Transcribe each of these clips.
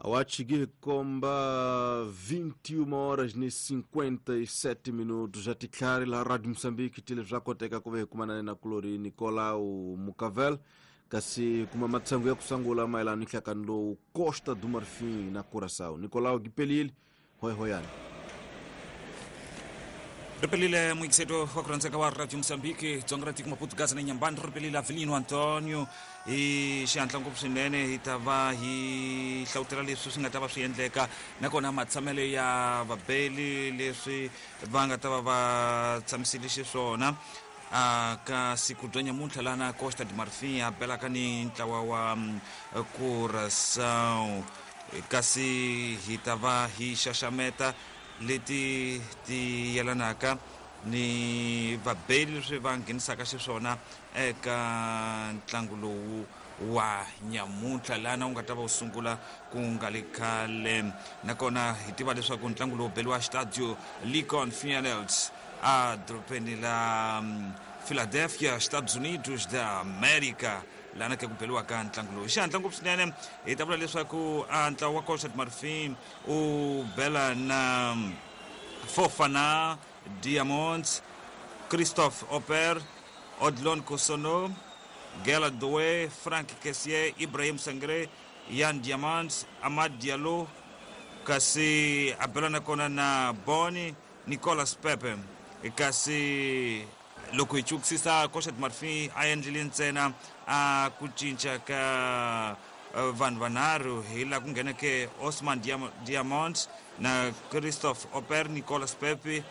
Awachigi komba 21 horas ni 57 minutos já tiklari la Rádio Moçambique tile swa koteka ku ve kumana na kulori Nicolau Mucavel kasi kuma matsangu ya kusangula mayelana ni nhlakano lowu Costa do Marfim na Curaçao. Nicolau Gipelile, hoi hoyani. Ripelile muikiseto wa kurhandzeka wa Radio Mozambique dzonga ra tiko Maputo Gaza na Nyambani. Ripelile Avelino Antonio hi xihatla ngopfu swinene hi ta va hi hlawutela leswi swi nga ta va swi endleka nakona matshamelo ya vabeli leswi va nga ta va va tshamisile xiswona ka siku bya nyamuntlha lana Costa de Marfim a belaka ni ntlawa wa Curaçao, kasi hi ta va hi xaxameta leti ti yelanaka ni vabeli leswi va nghenisaka xiswona eka ntlangu lowu wa nyamuntlha lana wu nga ta va wu sungula ku nga le khale. Nakona hi tiva leswaku ntlangu lowu beliwa Stadio Lincoln Fields a dorobeni la Philadelphia, Estados Unidos da America, lana ke ku beliwaka ntlangu lowu. Xihatla ngopfu swinene hi ta vula leswaku a ntlawa wa Costa de Marfim u bela na Fofana Diamonds, Christophe Oper, Odlon Kosono, Gela Doe, Frank Kessier, Ibrahim Sangre, Yan Diamonds, Amad Diallo, kasi a bela nakona na Boni Nicolas Pepe. Kasi loko hi chukisisa Costa de Marfim a endlile ntsena a ku cinca ka vanhu vanharhu hi laha ku ngheneke Osman Diamond na Christophe Oper, Nicolas Pepe,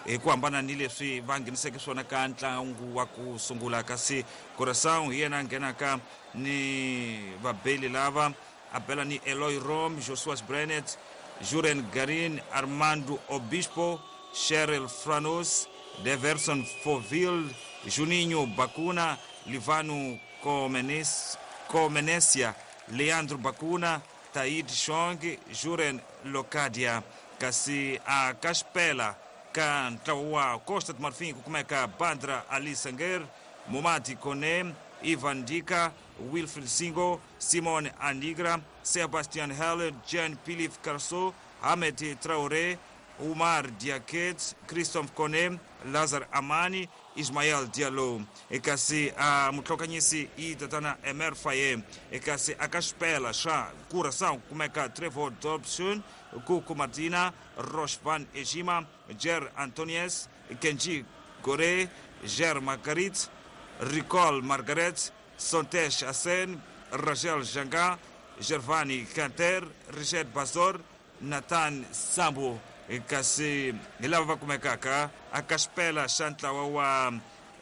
hi ku hambana ni leswi va ngheniseke swona ka ntlangu wa ku sungula. Kasi Curaçao hi yena a nghenaka ni vabeli lava a bela ni Eloy Rom, Joshua Brenet, Juren Garin, Armando Obispo, Cheryl Franos, Deverson Foville, Juninho Bacuna, Livano Comenesia, Leandro Bacuna, Taid Chong, Juren Locadia. Kasi a Caspela ka ntlawa wa Costa de Marfim ku kumeka Bandra Ali Sanger, Momadi Kone, Ivan Dika, Wilfred Singo, Simon Anigra, Sebastian Hell, Jean Philippe Carso, Ahmed Traoré, Umar Diaket, Christophe Kone, Lazar Amani, Ismael Diallo. Kasi a mutlhokanyisi i tatana Emer Faye. Kasi a Caspela xa Curaçao kumeka Trevor Dobson, Kuku Martina, Rochvan Ejima, Jer Antonies, Kenji Gore, Jer Margarit, Ricol Margaret, Sontesh Asen, Rachel Janga, Gervani Kanter, Richard Bazor, Nathan Sambo. Kasi hi lava va kumekaka a Caspela xa ntlawa wa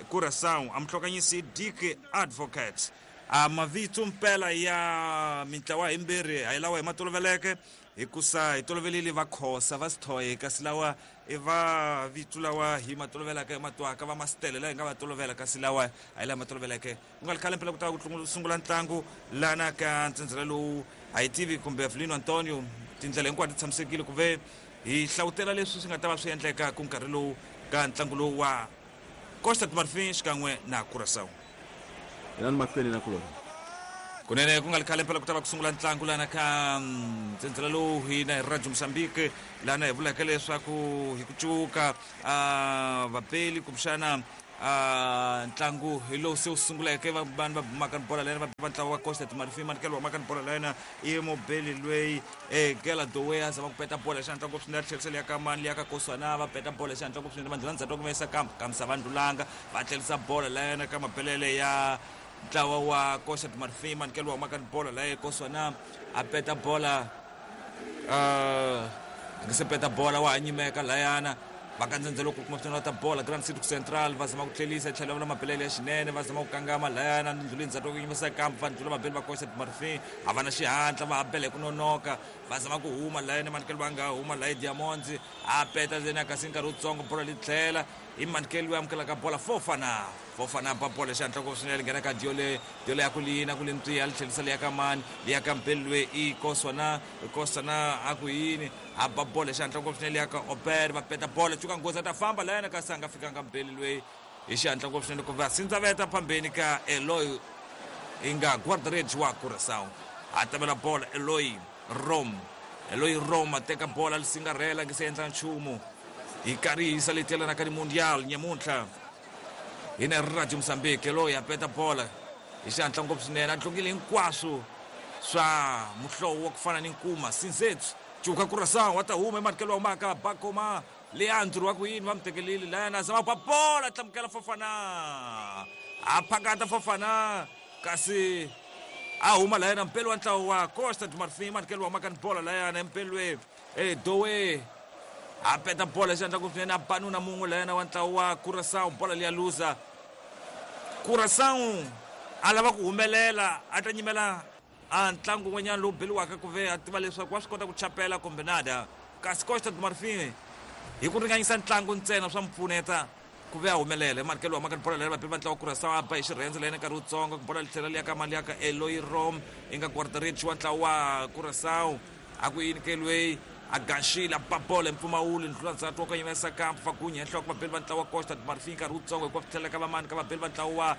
Curaçao a muhlokanyisi Dick Advocate. A mavito mpela ya mintlawa himbirhi a hi lawa hi ma toloveleke hikusa hi tolovelile va Khosa va Sithoye, kasi lawa i va vito lawa hi ma tolovelaka hi matwaka va Masitele laha hi nga va tolovela, kasi lawa a hi laha ma toloveleke. Ku nga ri khale mpela ku ta ku sungula ntlangu lana ka ntsendzela lowu a hi tivi kumbe Avelino Antonio tindlela hinkwato ti tshamisekile ku ve hi hlawutela leswi swi nga ta va swi endleka ku nkarhi lowu ka ntlangu lowu wa Costa de Marfim xikan'we na Curaçao. Yena ni mahlweni na kulona. Kunene ku nga ri khale mpela ku ta va ku sungula ntlangu lana ka ntsendzela lowu hina hi Radio Mozambique lana hi vulaka leswaku hi ku cuka vapeli kumbexana ntlangu hi lowu se wu sunguleke vanhu va bumaka ni bola lena va ntlawa wa Costa de Marfim manikelo wa maka ni bola lena i mubeli loyi Gela Dowe a zama ku peta bola xihatla ngopfu swinene a tlherisa liya ka mani liya ka Koswana va peta bola xihatla ngopfu swinene va ndlhula ndzhaku va yisa kamisa va ndlulanga va tlherisa bola lena ka mabelele ya ntlawa wa Costa de Marfim manikelo wa maka ni bola laye Koswana a peta bola nge se peta bola wa ha nyimeka layana va kandzendzelo ku kuma swinene ta bola Grand City Central va zama ku tlhelisa tlhelo va mabelele ya xinene va zama ku kangama layana ndluleni ndzhaku ku yimisa kamp va ndlula mabele va Costa de Marfim a va na xihatla va ha bele ku nonoka va zama ku huma layana manikelo va nga huma laye Diamonds a peta ndzeni kasi nkarhi wutsongo bola li tlhela i manikelo loyi amukelaka bola Fofana ba bola xihatla ngopfu swinene nghena ka Diole Diole ya ku lina ku lintiya li tlhelisa liya ka mani liya ka mbeli loyi i Koswana Koswana a ku yini a ba bola xihatla ngopfu swinene liya ka Oper va peta bola cuka nghozi a ta famba layana kasi a nga fikanga mbeli loyi hi xihatla ngopfu swinene ku va sindzaveta phambeni ka Eloy i nga guardareds wa Curaçao a tamela bola Eloy. Rom Eloy Rom a teka bola li singarhela nge se endla nchumu hi karhi hi saletelana ka ni mundial nyamuntlha hi na Radio Mozambique. Eloy a peta bola hi xihatla ngopfu swinene, a dlongile hinkwaswo swa muhlovo wa ku fana ni nkuma sinzetsu cuka Curaçao wa ta huma ematikelo wa humaka Bakoma Leandro wa ku yini va mu tekelile layana zama ba bola tlamukela Fofana a phakata Fofana kasi a huma layana mpelo wa ntlawa wa Costa do Marfim matikelo wa humaka ni bola layana empelwe Doe a peta bola xandla ku swinene a banuna mun'we layana wa ntlawa wa Curaçao bola liya luza Curaçao a lava ku humelela a ta nyimela a ntlangu wun'wanyana lowu beliwaka ku ve a tiva leswaku wa swi kota ku chapela kumbe nada kasi Costa do Marfim hi ku ringanyisa ntlangu ntsena swa mu pfuneta ku ve a humelela ematikelo wa maka ni bola leri vapeli va ntlawa Curaçao a ba hi xirhendze layena nkarhi wutsongo bola li tlhela liya ka mali ya ka Eloy Rom i nga guardarich wa ntlawa wa Curaçao a ku yini ke lweyi a ganxile a ba bola hi mpfumawulo ndlula ndzhaku wa ku yimesa kampu fagunya hi nhloko vapeli va ntlawa wa Costa do Marfim nkarhi wutsongo hikuva swi tlhela ka vamani ka vapeli va ntlawa wa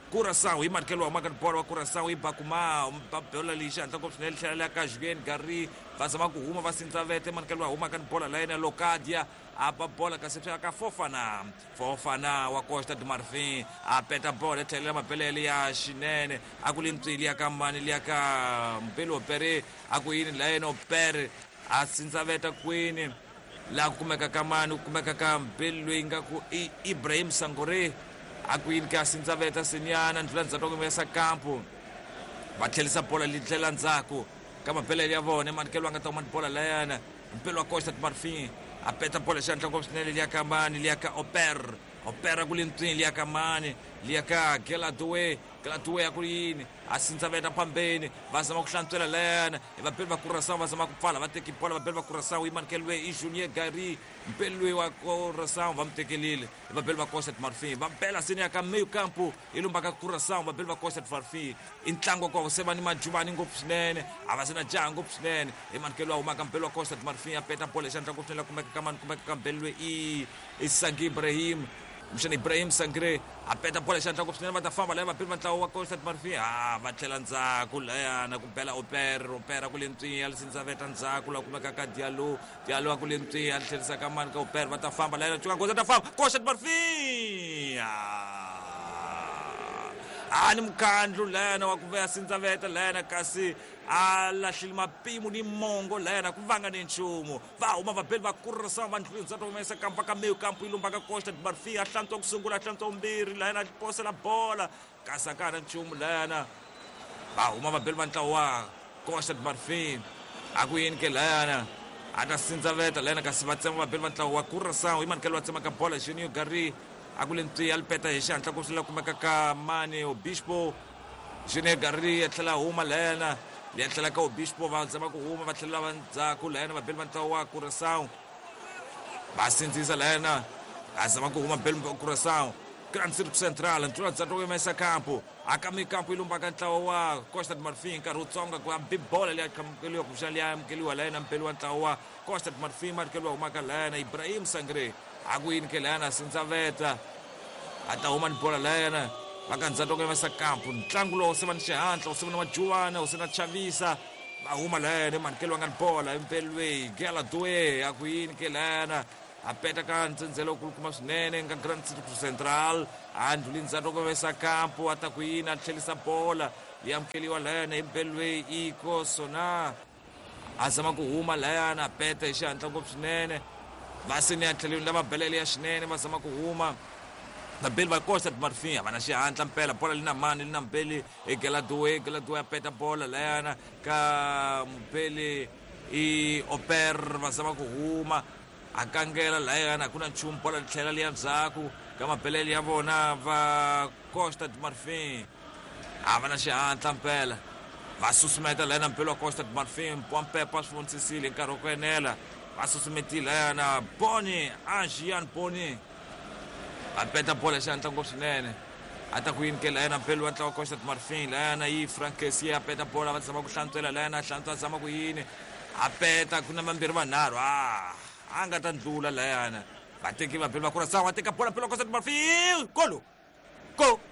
Curaçao hi matikelo wa maka ni bola wa Curaçao i Bakuma ba bola leyi xihatla ngopfu swinene tlhela liya ka Julien Gary va zama ku huma va sindza vete matikelo wa humaka ni bola layena Locadia a ba bola kasi swi ka Fofana Fofana wa Costa do Marfim a peta bola tlhelela mapelele ya xinene a ku li ntswili ya ka mani liya ka Mpelo Opere a ku yini layena Opere a sindza veta kwini laha ku kumeka ka mani ku kumeka ka Mpelo loyi nga ku i Ibrahim Sangore a ku yini ka sindza veta senyana ndlula ndzhaku wa yimesa kampu va tlherisa bola li tlhela ndzhaku ka mapelele ya vona manikelo a nga ta huma ni bola layana Mpelo wa Costa do Marfim a peta bola xihatla ngopfu swinene liya ka mani liya ka Oper Opera ku le ntswini liya ka mani liya ka Geladoe Geladoe a ku yini a sindza veta phambeni va zama ku hlantswela layana hi vapeli va Curaçao va zama ku pfala va teki bola vapeli va Curaçao yi manikeliwe i Junior Gary mpeli loyi wa Curaçao va mu tekelile hi vapeli va Costa do Marfim va bela seni ya ka meio campo i lumbaka Curaçao vapeli va Costa do Marfim i ntlangu wa ku se va ni majuvani ngopfu swinene a va se na jaha ngopfu swinene hi manikelo wa humaka mpeli wa Costa do Marfim a peta bola xandla ngopfu swinene la kumeka ka mani kumeka ka mpeli loyi i Sangi Ibrahim kumbexana Ibrahim Sangre a peta bola xandla ngopfu swinene va ta famba laya vapeli va ntlawa wa Costa do Marfim a va tlhela ndzhaku layana ku bela Opera Opera ku le ntswinya a li veta ndzhaku la kumeka ka Diallo Diallo a ku le ntswinya a li tlherisa ka mani ka Opera va ta famba layana cuka goza ta famba Costa do Marfim a ni mukhandlu layana wa ku veya sindzaveta layana kasi a lahlile mapimo ni mongo layana ku vanga ni nchumu va huma vabeli va Curaçao va ndlwini ndzhaku humesa kampa ka meyo kampu yi lumbaka Costa do Marfim a hlantswa ku sungula a hlantswa vumbirhi layana a posela bola kasi a ka ha na nchumu layana va huma vabeli va ntlawa wa Costa do Marfim a ku yini ke layana a ta sindzaveta layana kasi va tsema vabeli va ntlawa wa Curaçao hi manikelo va tsemaka bola Junior Gary a ku le ntswi a li peta hi xihatla ku swi kumeka ka mani Obispo Junior Gary a tlhela huma layana liya tlhela ka Obispo va zama ku huma va tlhela va ndzhaku layana vabeli va ntlawa wa Curaçao va sindzisa layana a zama ku huma beli va Curaçao Grand Circo Central ntlula ndzhaku wa yimesa kampo akami kampo yi lumbaka ntlawa wa Costa do Marfim nkarhi wutsongo ku hambi bola liya amukeliwa kumbexana liya amukeliwa layana mpeli wa ntlawa wa Costa do Marfim matikelo wa humaka layana Ibrahim Sangre a ku yini ke layana sindzaveta a ta huma ni bola layana va ka ndzhaku ka yimesa kampo ntlangu lowu se va ni xihatla wu se va na majuvana wu se na chavisa va huma layana manikelo wa nga ni bola empelweni Geladoe a ku yini ke layana a peta ka ntsendzelo kulukumba swinene nga Grand Circo Central a ndlhuli ndzhaku ka yimesa kampo a ta ku yini a tlherisa bola yi amukeliwa layana empelweni Iko Sona a zama ku huma layana a peta hi xihatla ngopfu swinene va seni ya tlhelweni lava belele ya xinene va zama ku huma vabeli va Costa do Marfim a va na xihatla mpela bola li na mani li na mbeli i Geladoe Geladoe a peta bola layana ka mubeli i Oper va zama ku huma a kangela layana a ku na nchumu bola li tlhela liya ndzhaku ka mabelele ya vona va Costa do Marfim a va na xihatla mpela va susumeta layana mpelo wa Costa do Marfim Pompepa swi vonisisile hi nkarhi wa ku enela va susumetile layana Boni Agian Boni a peta bola xihatla ngopfu swinene a ta ku yini ke layana mpelo wa ntlawa Costa do Marfim layana yi Frankesia a peta bola va zama ku hlantswela layana a hlantswa a zama ku yini a peta ku na vambirhi vanharhu a nga ta ndlula layana vateki vabeli va Curaçao a teka bola mpelo wa Costa do Marfim golo go.